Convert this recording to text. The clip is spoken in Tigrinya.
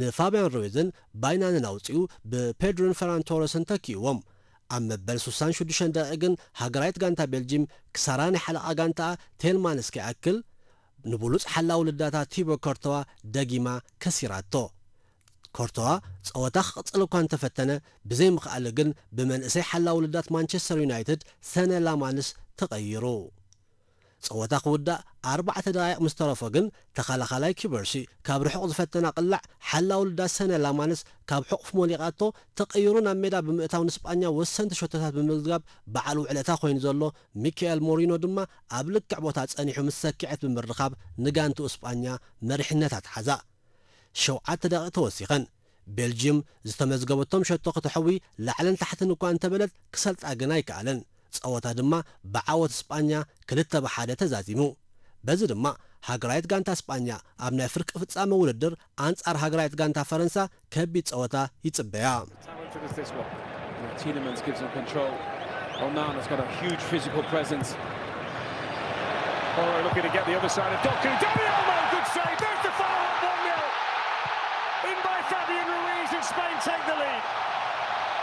ንፋብያን ሩይዝን ባይናንን ኣውጺኡ ብፔድሮን ፈራን ቶረስን ተኪእዎም። ኣብ መበል ስሳን ሽዱሽተን ደቂቕ ግን ሃገራዊት ጋንታ ቤልጂም ክሳራ ናይ ሓለቓ ጋንታኣ ቴልማንስ ከይኣክል ንብሉጽ ሓላው ልዳታ ቲቦ ኮርቶዋ ደጊማ ከሲራቶ። ኮርቶዋ ጸወታ ክቕጽል እኳ እንተፈተነ፣ ብዘይምኽኣሉ ግን ብመንእሰይ ሓላው ልዳት ማንቸስተር ዩናይትድ ሰነ ላማንስ ተቐይሩ። ጸወታ ክውዳእ ኣርባዕተ ደቓይቕ ምስ ተረፎ ግን ተኸላኻላይ ኪበርሲ ካብ ርሑቕ ዝፈተና ቅላዕ ሓላው ልዳት ሰነ ላማንስ ካብ ሕቑፍ ሞሊቓቶ ተቐይሩ ናብ ሜዳ ብምእታው ንስጳኛ ወሰንቲ ሸቶታት ብምምዝጋብ በዓል ውዕለታ ኮይኑ ዘሎ ሚካኤል ሞሪኖ ድማ ኣብ ልክዕ ቦታ ጸኒሑ ምስ ሰኪዐት ብምርኻብ ንጋንትኡ ስጳኛ መሪሕነት ኣትሓዛ። ሸውዓተ ደቂቕ ተወሲኸን። ቤልጅየም ዝተመዝገበቶም ሸቶ ከተሕዊ ላዕልን ታሕትን እኳ እንተበለት ክሰልጣ ግን ኣይከኣለን። ጸወታ ድማ ብዓወት ስጳኛ ክልተ ብሓደ ተዛዚሙ። በዚ ድማ ሃገራዊት ጋንታ ስጳኛ ኣብ ናይ ፍርቂ ፍጻመ ውድድር ኣንጻር ሃገራዊት ጋንታ ፈረንሳ ከቢድ ጸወታ ይጽበያ። Talented as this one. You know, Tielemans gives them control. Onana's got a huge physical presence. Porro looking to get the other side of Doku. Dani Olmo, good save. There's the follow-up one nil. In by Fabian Ruiz and Spain take the lead.